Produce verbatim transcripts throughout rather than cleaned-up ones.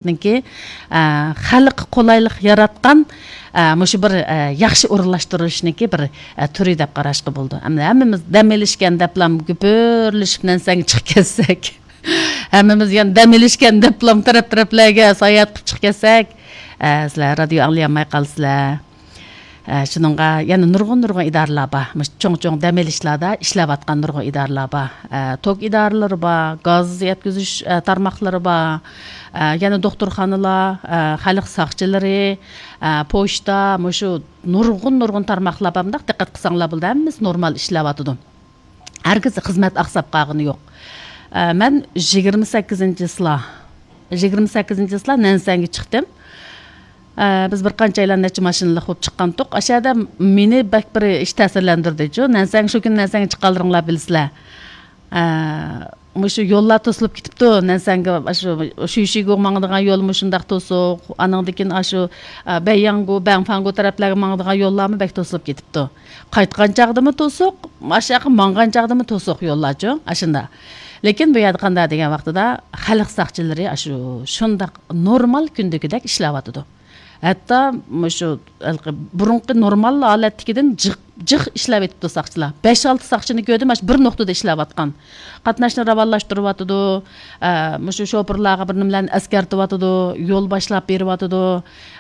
نىڭكى، ئە، خەلققە قولايلىق ياراتقان، ئە، مۇشۇ بىر، ئە، ياخشى ئورۇنلاشتۇرۇشنىڭكى بىر، ئە، تۈرى دەپ قاراشقا بولىدۇ. ئەمدى ھەممىمىز دەم ئېلىشكەن دەپلا گۈپۈرلىشىپ نەنسەڭگە چىقىپ كەتسەك، ھەممىمىز يەنە دەم ئېلىشكەن دەپلا تەرەپ-تەرەپلەرگە ساياھەت قىلىپ چىقىپ كەتسەك، ئە، سىلەر رادىيو ئاڭلىيالماي قالىسىلەر. ئە، شۇنىڭغا يەنە نۇرغۇن-نۇرغۇن ئىدارىلەر بار. مۇشۇ چوڭ-چوڭ دەم ئېلىشلاردا ئىشلەۋاتقان نۇرغۇن ئىدارىلەر بار. ئە، توك ئىدارىلىرى بار، گاز يەتكۈزۈش، ئە، تارماقلىرى بار. ئە، يەنە دوختۇرخانىلار، ئە، خەلق ساقچىلىرى، ئە، پوچتا، مۇشۇ نۇرغۇن-نۇرغۇن تارماقلار بار. مۇنداق دىققەت قىلساڭلار بولىدۇ، ھەممىسى نورمال ئىشلەۋاتىدۇ. ھەرگىز خىزمەت ئاقساپ قالغىنى يوق. ئە، مەن يىگىرمە سەككىزىنچى چىسلا، يىگىرمە سەككىزىنچى چىسلا نەنسەنگە چىقتىم. ئە، بىز بىر قانچەيلەن نەچچە ماشىنىلىق بولۇپ چىققانتۇق. ئاشۇ يەردە مېنى بەك بىر ئىش تەسىرلەندۈردىچۇ. نەنسەڭ، شۇ كۈنى نەنسەڭگە چىققانلىرىڭلار بىلىسىلەر. ئە، مۇشۇ يوللار توسۇلۇپ كېتىپتۇ. نەنسەڭگە شۇ شۈيشىگۇ ماڭىدىغان يول مۇشۇنداق توسۇق. ئانىڭدىن كېيىن ئاشۇ، ئە، بەيياڭگۇ، بەڭفاڭگۇ تەرەپلەرگە ماڭىدىغان يوللارمۇ بەك توسۇلۇپ كېتىپتۇ. قايتقان چاغدىمۇ توسۇق، ئاشۇ ياققا ماڭغان چاغدىمۇ توسۇق يوللارچۇ، ئاشۇنداق. لېكىن بۇ يەردە قانداق دېگەن ۋاقتىدا خەلق ساقچىلىرى ئاشۇ شۇنداق نورمال كۈندىكىدەك ئىشلەۋاتىدۇ. ھەتتا مۇشۇ ھېلىقى بۇرۇنقى نورمال ھالەتتىكىدىن جىق، جىق ئىشلەۋېتىپتۇ ساقچىلار. بەش-ئالتە ساقچىنى كۆردۈم، مانا شۇ بىر نۇقتىدا ئىشلەۋاتقان. قاتناشنى راۋانلاشتۇرۇۋاتىدۇ، ئە، مۇشۇ شوپۇرلارغا بىر نېمىلەرنى ئەسكەرتىۋاتىدۇ، يول باشلاپ بېرىۋاتىدۇ،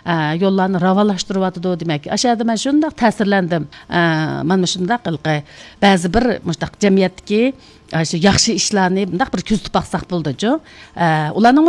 ئە، يوللارنى راۋانلاشتۇرۇۋاتىدۇ. دېمەك، ئاشۇ يەردە مەن شۇنداق تەسىرلەندىم. ئە، مانا مۇشۇنداق ھېلىقى بەزى بىر مۇشۇنداق جەمئىيەتتىكى، ئە، شۇ ياخشى ئىشلارنى مۇنداق بىر كۆزىتىپ باقساق بولىدۇچۇ. ئە، ئۇلارنىڭ